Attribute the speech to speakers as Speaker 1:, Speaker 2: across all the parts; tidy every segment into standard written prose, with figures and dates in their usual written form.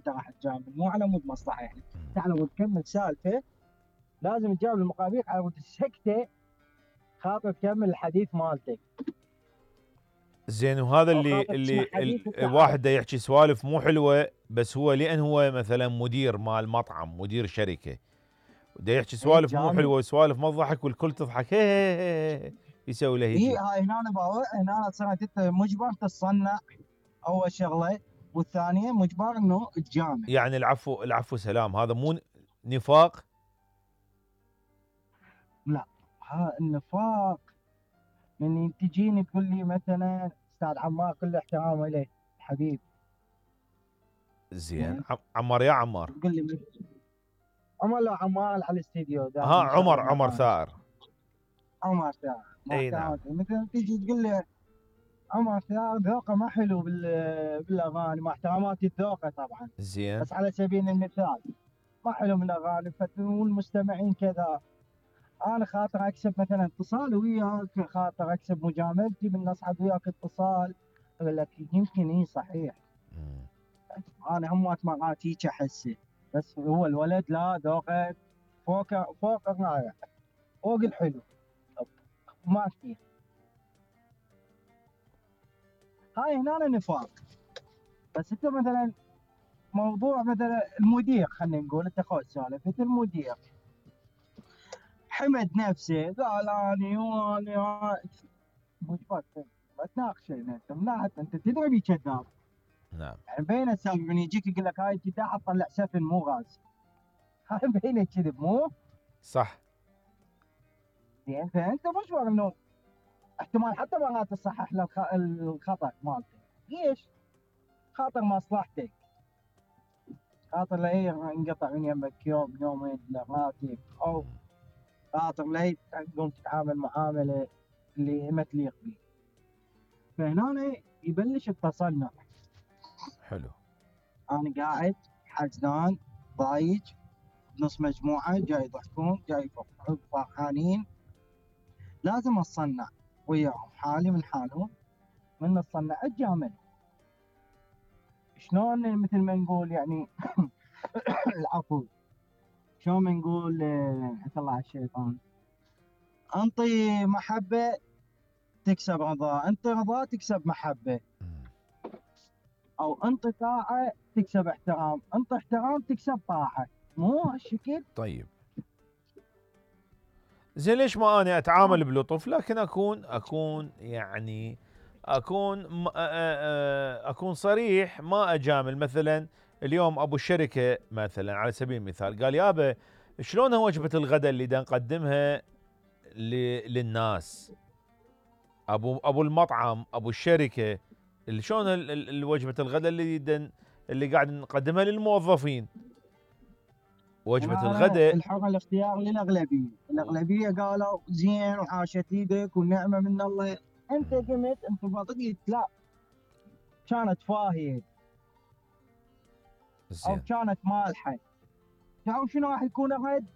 Speaker 1: انت راح تجامل، مو على مود مصلحه يعني. انت على مود تكمل سالفه لازم تجاوب المقابيل على مود سكته خاطر تكمل الحديث مالتك.
Speaker 2: زين، وهذا
Speaker 1: أو
Speaker 2: اللي
Speaker 1: خاطر تسمع حديث
Speaker 2: الواحد دا يحكي سوالف مو حلوه، بس هو لان هو مثلا مدير مال مطعم، مدير شركه، دا يحكي سوالف مو حلوه وسوالف ما تضحك والكل تضحك، هي يسوي له هيجي.
Speaker 1: هاي هنا انا باوع، هنا صرت انت مجبر تتصنع اول شغله، والثانيه مجبر انه تجامل.
Speaker 2: يعني العفو سلام، هذا مو نفاق؟
Speaker 1: لا، ها النفاق من تجيني تقول لي مثلا استاذ عمار كل احترام اليه حبيب.
Speaker 2: زين عمار، يا عمار
Speaker 1: تقول لي عمر، لو عمار على الاستديو
Speaker 2: ها، عمر ثائر.
Speaker 1: عمر ثائر
Speaker 2: اي نعم.
Speaker 1: مثلا تيجي تقول لي عمر ثائر ذوقه ما حلو بالاغاني، مع احتراماتي الذوقه طبعا،
Speaker 2: زين،
Speaker 1: بس على سبيل المثال ما حلو من الاغاني والمستمعين كذا. انا خاطر اكسب مثلا اتصال وياك، خاطر اكسب مجاملتي من اصعد وياك اتصال، اقول لك يمكن صحيح. انا هم مرات هيك احسه، بس هو الولد لا ذوقه فوق الرائع، فوق الحلو، ما في. هاي هنا نفاق. بس انت مثلا موضوع مثلا المدير، خلينا نقول انت خذ سالفه المدير حمد نفسه قال اني مجبر ما تناقشه، انت من ناحيه انت تدري بي كذاب.
Speaker 2: نعم.
Speaker 1: يعني بين السبب من يجيك يقول لك هاي انت تطلع سفن مو غاز، هاي بين كذب مو
Speaker 2: صح.
Speaker 1: زين، فانت مجبر انه احتمال حتى مرات تصحح له الخطا مالته. ليش؟ خاطر مصلحتك، خاطر لا ينقطع من يمك يوم يومين راتب، او خاطر لا تقوم تتعامل معامله اللي ما تليق به. فهنا يبلش التصنع.
Speaker 2: حلو.
Speaker 1: انا قاعد حزنان ضايج، نص مجموعه جاي يضحكون جاي فرحانين، لازم اتصنع وياهم حالي من حالهم، من الصنع اتجامل. شلون مثل ما نقول يعني العفو، شلون ما نقول اطلع الشيطان، انطي محبه تكسب رضا، انطي رضا تكسب محبه، او انطي طاعه تكسب احترام، انطي احترام تكسب طاعه، مو هالشكل؟
Speaker 2: طيب زين، ليش ما انا اتعامل بلطف لكن اكون يعني اكون صريح، ما اجامل. مثلا اليوم ابو الشركه مثلا على سبيل المثال قال يابا شلون وجبه الغداء اللي دا نقدمها للناس، ابو المطعم ابو الشركه شلون وجبه الغداء اللي قاعد نقدمها للموظفين، وجبه الغداء.
Speaker 1: الحر الاختيار للاغلبيه، الاغلبيه قالوا زين وحاشت ايدك والنعمه من الله. انت قمت انت بطقت لا، كانت فاهيه او كانت مالحه، تعرف شنو راح يكون الرد؟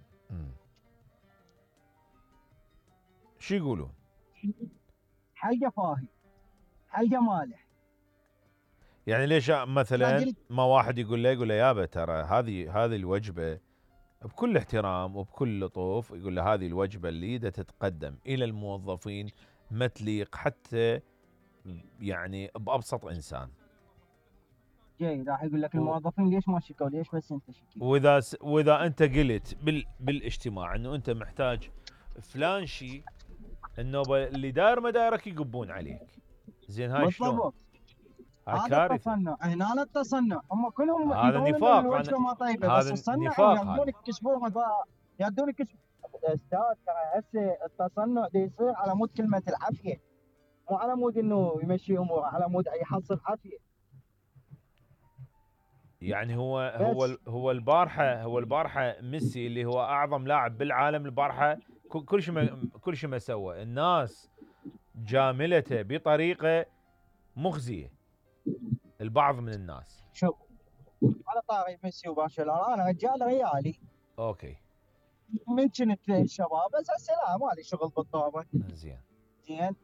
Speaker 2: شو يقولون؟
Speaker 1: حلقه فاهي، حلقه مالح.
Speaker 2: يعني ليش مثلا ما واحد يقول له يابا ترى هذه الوجبه بكل احترام وبكل لطف، يقول له هذه الوجبه اللي دا تتقدم الى الموظفين ما تليق حتى يعني بابسط انسان.
Speaker 1: جاي راح يقول لك الموظفين ليش ما شكوا، ليش بس انت شكيت؟
Speaker 2: واذا انت قلت بالاجتماع انه انت محتاج فلان شيء، النوبه اللي داير مدارك يقبون عليك. زين هاي شلون؟
Speaker 1: هذا التصنع، هنا التصنع، هم كلهم
Speaker 2: هذا نفاق.
Speaker 1: الوجبه ما طيبه بس التصنع يردون يكشفون يردون يكشفون. استاذ ترى هسه التصنع دي يصير على مود كلمه العافيه، مو على مود انه يمشي اموره، على مود يحصل عافيه.
Speaker 2: يعني هو البارحه ميسي اللي هو اعظم لاعب بالعالم البارحه كل شيء ما سوى، الناس جاملته بطريقه مخزيه، البعض من الناس.
Speaker 1: شوف على طاري ميسي وبرشلونه، انا رجال ريالي
Speaker 2: اوكي
Speaker 1: من كنت شباب، بس هسه لا مالي شغل بالطابه.
Speaker 2: زين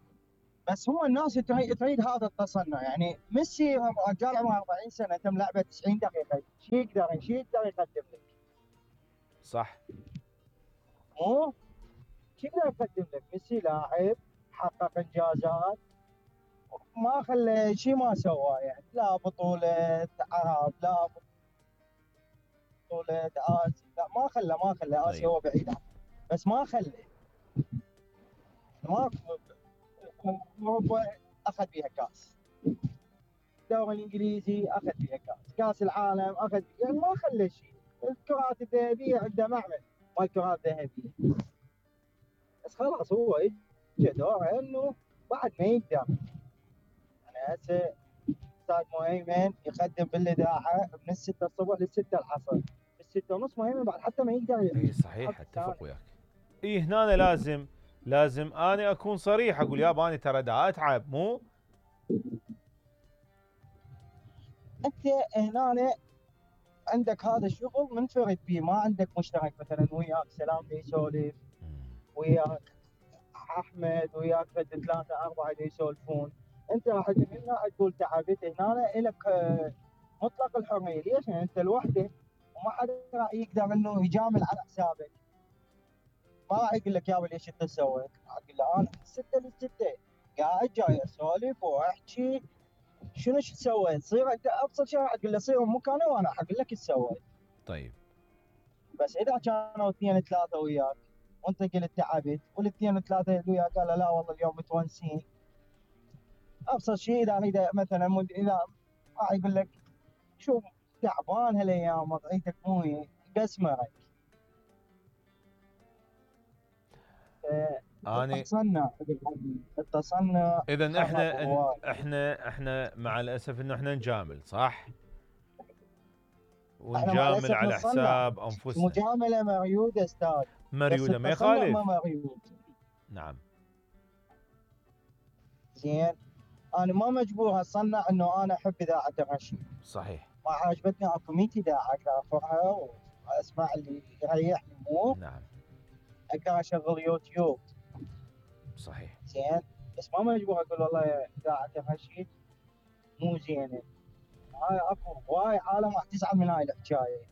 Speaker 1: بس هو الناس تريد هذا التصنع. يعني ميسي رجال عمره 40 سنه تم لعبه 90 دقيقه، شو يقدر يقدم لك؟
Speaker 2: صح.
Speaker 1: مو شو يقدر يقدم لك؟ ميسي لاعب حقق انجازات، ما خلى شيء ما سواه. يعني لا بطوله عرب، لا بطوله اسيا، لا ما خلى اسيا،
Speaker 2: طيب.
Speaker 1: هو بعيد عنه بس ما خلى. ما اوروبا اخذ فيها كاس، الدوري الانجليزي اخذ فيها كاس، كاس العالم اخذ، يعني ما خلى شيء. الكرات الذهبيه عنده معمل مال كرات ذهبيه، بس خلاص هو اجى دوره انه بعد ما يقدر. يعني هسه استاذ مهيمن يقدم بالاذاعه من الستة الصبح للستة العصر، الستة ونص مهيمن بعد حتى ما يقدر
Speaker 2: اي صحيح، اتفق وياك. اي هنا أنا لازم انا اكون صريح، اقول يابا انا ترى دا اتعب، مو
Speaker 1: انت هنا عندك هذا الشغل منفرد فيه، ما عندك مشترك مثلا وياك سلام يسولف، وياك احمد، وياك ثلاثه اربعه اللي يسولفون. انت راح هنا تقول تعبت، هنا لك مطلق الحريه. ليش؟ يعني انت لوحدك وما حدا راح يقدر انه يجامل على حسابك. ما راح يقول لك يابا ليش انت سويت، راح تقول له انا من 6 ل 6 قاعد جاي اسولف واحكي شنو سويت. صير انت ابسط شيء راح تقول له صير مكاني وانا اقول لك ايش سويت.
Speaker 2: طيب.
Speaker 1: بس اذا كانوا اثنين ثلاثه وياك وانت قلت تعبت، والاثنين ثلاثه اللي وياك قالوا لا والله اليوم متونسين، ابسط شيء اذا مثلا اذا راح يقول لك شوف تعبان هالايام وضعيتك مو بسمعك.
Speaker 2: اني
Speaker 1: التصنع
Speaker 2: اذا
Speaker 1: خرب
Speaker 2: احنا مع الاسف انه احنا نجامل، صح؟
Speaker 1: احنا مع
Speaker 2: ونجامل
Speaker 1: الاسف
Speaker 2: على
Speaker 1: نصنع.
Speaker 2: حساب انفسنا.
Speaker 1: المجامله مريوده استاذ،
Speaker 2: مريوده
Speaker 1: بس
Speaker 2: ما
Speaker 1: التصنع
Speaker 2: يخالف.
Speaker 1: ما مريود.
Speaker 2: نعم.
Speaker 1: زين، انا ما مجبور اصنع انه انا احب اذاعه الرشيد.
Speaker 2: صحيح.
Speaker 1: ما عجبتني اكو 100 اذاعه اقدر ارفعها واسمع اللي يريحني، مو
Speaker 2: نعم.
Speaker 1: اقدر اشغل يوتيوب.
Speaker 2: صحيح.
Speaker 1: زين، بس ما مجبور اقول والله اذاعه الرشيد مو زينه. هاي اكو هواي عالم راح تزعل من هاي الحكايه،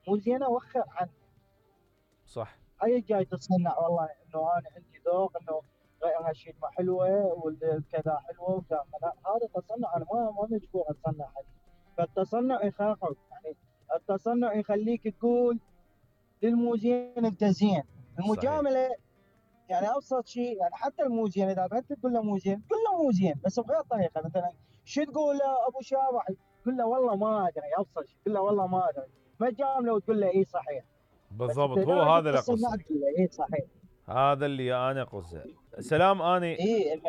Speaker 1: مو زينه وخر عنها.
Speaker 2: صح.
Speaker 1: هاي جاي تصنع والله انه انا عندي ذوق، انه غير هالشيء ما حلوه والكذا حلوه وكذا. هذا تصنع، انا ما مجبور اتصنع عليه. فالتصنع يخرب، يعني التصنع يخليك تقول للمو زين انت زين.
Speaker 2: صحيح.
Speaker 1: المجامله يعني ابسط شيء، يعني حتى المو زين اذا انت تقول له مو زين قل له مو زين بس بغير طريقه. مثلا شو تقول له ابو شابح؟ قل له والله ما ادري، ابسط شيء قل له والله ما ادري، ما تجامله وتقول له اي صحيح. بس انت
Speaker 2: بالضبط، هو
Speaker 1: دائما
Speaker 2: هذا اللي
Speaker 1: تصنع
Speaker 2: اقصده.
Speaker 1: تقول له اي صحيح.
Speaker 2: هذا اللي انا اقصده. سلام.
Speaker 1: اي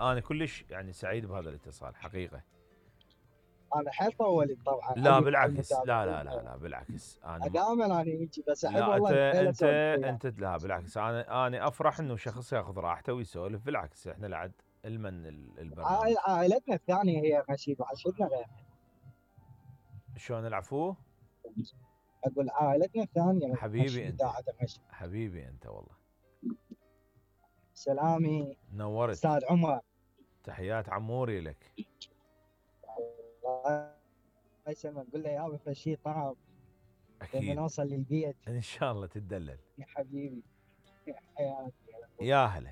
Speaker 2: انا كلش يعني سعيد بهذا الاتصال حقيقه.
Speaker 1: انا حيل طولت طبعا
Speaker 2: لا
Speaker 1: عليك وعلى
Speaker 2: بالعكس،
Speaker 1: المتابعين.
Speaker 2: لا بالعكس.
Speaker 1: دائما انا هيجي، بس احب
Speaker 2: لا انت
Speaker 1: والله حيل
Speaker 2: انت
Speaker 1: اسولف وياك.
Speaker 2: انت لا بالعكس، انا افرح انه شخص ياخذ راحته ويسولف. بالعكس احنا لعد المن البرنامج.
Speaker 1: عائلتنا الثانيه هي رشيد وعشتنا غيرها.
Speaker 2: شلون العفو؟
Speaker 1: اقول عائلتنا الثانيه
Speaker 2: حبيبي
Speaker 1: رشيد،
Speaker 2: انت،
Speaker 1: اذاعه رشيد.
Speaker 2: حبيبي انت والله.
Speaker 1: سلامي
Speaker 2: نورت.
Speaker 1: استاذ عمر.
Speaker 2: تحيات عموري لك.
Speaker 1: الله يسلمك، قول له يابا في شيء طعم لما
Speaker 2: اكيد
Speaker 1: نوصل للبيت.
Speaker 2: ان شاء الله تدلل.
Speaker 1: يا حبيبي، يا حياتي.
Speaker 2: يا هلا.